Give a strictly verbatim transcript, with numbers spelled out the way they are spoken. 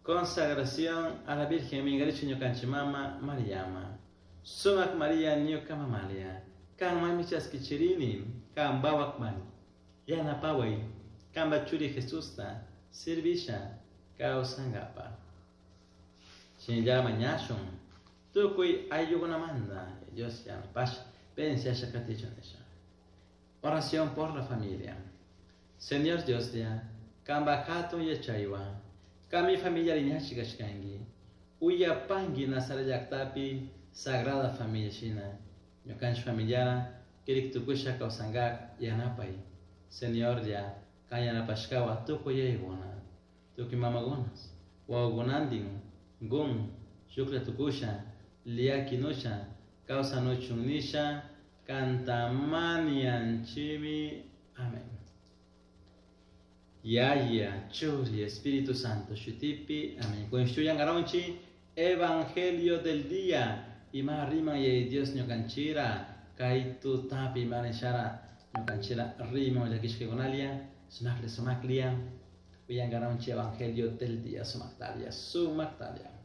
Consagración a la Virgen Mingarichu ñukanchik mama Mariama. Sumak Maria ñuka mamalia. Kanmanmi chaskichirini, kanpawak yanapaway, kanpa churi Jesusta servisha kawsankapaj. Shinalla mañashun tukuy ayllukunamanta Dios yanapasha bendiciasha katichun nisha. Oración por la familia. Señor Dios ya, kanpa hatun yachaywan, kanmi familia riñachi kashkanki, uyapanki Nazaret llaktapi Sagrada Familia shina, ñukanchik familiara kirik tukusha kawsankak yanapay. Señor ya, kan yanapashkawan tukuy yayakuna, tukuy mamakunas, wawakunantin, gun, shuklla tukusha, llakinusha, kawsanuchun nisha, kantamanianchimi. Amén. Yaya, Churi, Espíritu Santo, Shutipi, amén. Kunan Evangelio del día. Ima riman Yaya Dios ñukanchira, kay tutapi manishara ñukanchira riman llakishkakunalia, sumakli sumaklia, uyankaranchik Evangelio del día, sumaktalia, sumaktalia.